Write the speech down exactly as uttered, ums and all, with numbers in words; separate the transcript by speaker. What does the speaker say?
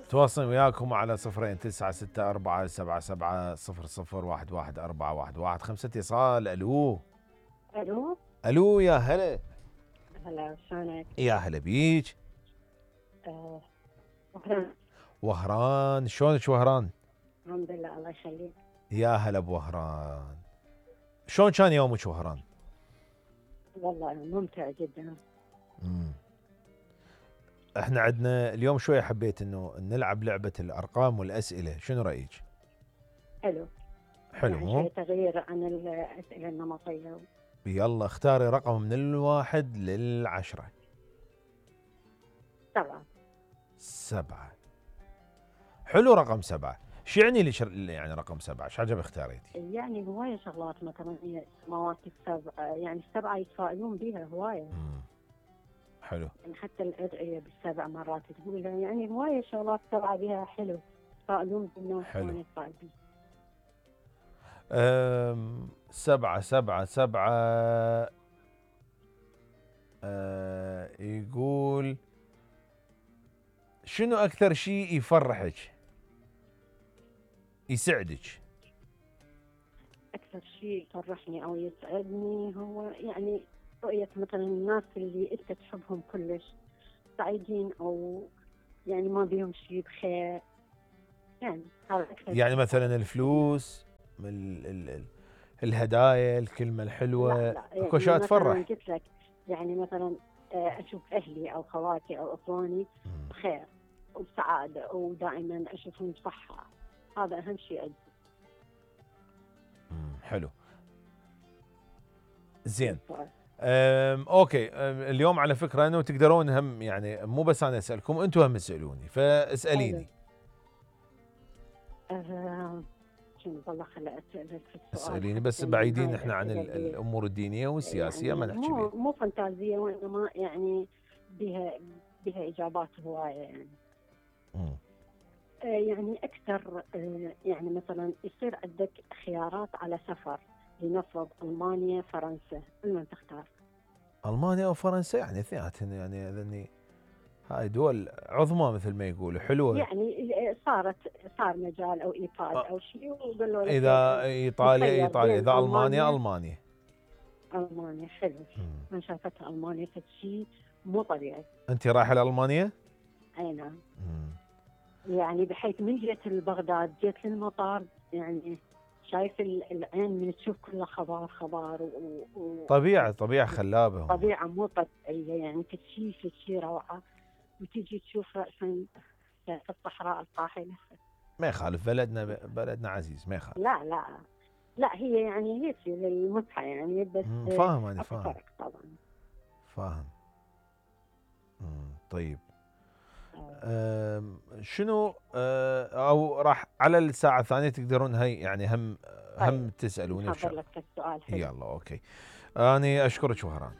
Speaker 1: تواصل وياكم على صفرين تسعة ستة أربعة سبعة سبعة صفر صفر واحد واحد أربعة واحد واحد. خمسة اتصال. الو
Speaker 2: الو
Speaker 1: الو يا هلا.
Speaker 2: هلا شلونك؟
Speaker 1: يا هلا بيك.
Speaker 2: آه، وهران.
Speaker 1: وهران شلونك وهران؟
Speaker 2: الحمد لله الله يخليك.
Speaker 1: يا هلا بوهران. شلون كان يومك وهران؟
Speaker 2: والله ممتع جدا.
Speaker 1: امم احنا عندنا اليوم شويه حبيت انه نلعب لعبه الارقام والاسئله، شنو رايك؟
Speaker 2: حلو.
Speaker 1: حلو
Speaker 2: يعني
Speaker 1: مو؟
Speaker 2: شوي تغيير عن الأسئلة النمطية.
Speaker 1: يلا اختاري رقم من الواحد للعشرة.
Speaker 2: سبعة.
Speaker 1: سبعة. حلو رقم سبعة. شو يعني لي شر... يعني رقم سبعة؟ ايش عجب اختاريتي؟
Speaker 2: يعني هواية شغلات مثلا هي السماوات السبعة، يعني السبعة يتفائلون بها هواية.
Speaker 1: مم. حلو.
Speaker 2: يعني حتى الأدعية بالسبع مرات تقولها، يعني هواية شغلات سبعة بها حلو. يتفائلون بالناس.
Speaker 1: حلو.
Speaker 2: يتفائل بيه.
Speaker 1: أم... سبعة سبعة سبعة. أه... يقول شنو أكثر شيء يفرحك يسعدك؟
Speaker 2: أكثر شيء يفرحني أو يسعدني هو يعني رؤية مثلا الناس اللي أنت تحبهم كلش سعيدين، أو يعني ما بيهم شيء بخير. يعني هذا أكثر
Speaker 1: يعني
Speaker 2: شيء.
Speaker 1: مثلا الفلوس، ال... ال... ال... الهدايا، الكلمة الحلوة،
Speaker 2: لا لا،
Speaker 1: اكو
Speaker 2: يعني
Speaker 1: اشياء
Speaker 2: مثلا
Speaker 1: تفرح.
Speaker 2: قلت لك، يعني مثلا آه، أشوف أهلي أو خواتي أو أخواني بخير وبسعادة ودائما أشوفهم بصحة، هذا أهم شيء عندي.
Speaker 1: مم. حلو. زين. أم اوكي. أم اليوم على فكره انه تقدرون هم، يعني مو بس انا اسالكم، انتم هم تسالوني، فاساليني.
Speaker 2: أه شنو والله خلي اسالك في السؤال.
Speaker 1: اساليني بس بعيدين احنا عن الامور الدينيه والسياسيه،
Speaker 2: يعني
Speaker 1: ما نحكي
Speaker 2: مو
Speaker 1: بيها.
Speaker 2: مو فانتازيه، وانما يعني بها بها اجابات هوايه يعني.
Speaker 1: مم.
Speaker 2: آه يعني اكثر، آه يعني مثلا يصير عندك خيارات على سفر، لنفرض المانيا فرنسا، من تختار؟
Speaker 1: المانيا او فرنسا؟ يعني اثنيناتهم، يعني لاني هاي دول عظمى مثل ما يقولوا، حلوه.
Speaker 2: يعني صارت صار مجال او ايقاد
Speaker 1: أه
Speaker 2: او شيء وقالوا لك
Speaker 1: اذا ايطاليا
Speaker 2: مخير
Speaker 1: ايطاليا،
Speaker 2: بين
Speaker 1: اذا المانيا
Speaker 2: المانيا.
Speaker 1: المانيا.
Speaker 2: المانيا حلو.
Speaker 1: مم.
Speaker 2: من شافتها المانيا فد شيء مو طبيعي.
Speaker 1: انت رايحه لالمانيا؟
Speaker 2: اي نعم.
Speaker 1: مم.
Speaker 2: يعني بحيث من جيت لبغداد جيت للمطار، يعني شايف العين من تشوف كله خضار خضار و... و...
Speaker 1: طبيعه طبيعه خلابه هم.
Speaker 2: طبيعة مو طبيعية، يعني تشي تشي روعة. وتجي تشوف رأسا في الصحراء القاحلة.
Speaker 1: ما يخالف، بلدنا بلدنا عزيز، ما يخالف.
Speaker 2: لا لا لا، هي يعني هي للمتعة يعني، بس
Speaker 1: مم. فاهم انا
Speaker 2: اكو
Speaker 1: فاهم.
Speaker 2: فرق طبعا.
Speaker 1: فاهم. مم. طيب.
Speaker 2: آه.
Speaker 1: أم، شنو أه، او راح على الساعة الثانية تقدرون هي يعني هم
Speaker 2: طيب
Speaker 1: هم تسألوني
Speaker 2: نحضر
Speaker 1: بشغله.
Speaker 2: لك السؤال حلو.
Speaker 1: يلا اوكي. اني اشكرك وهران.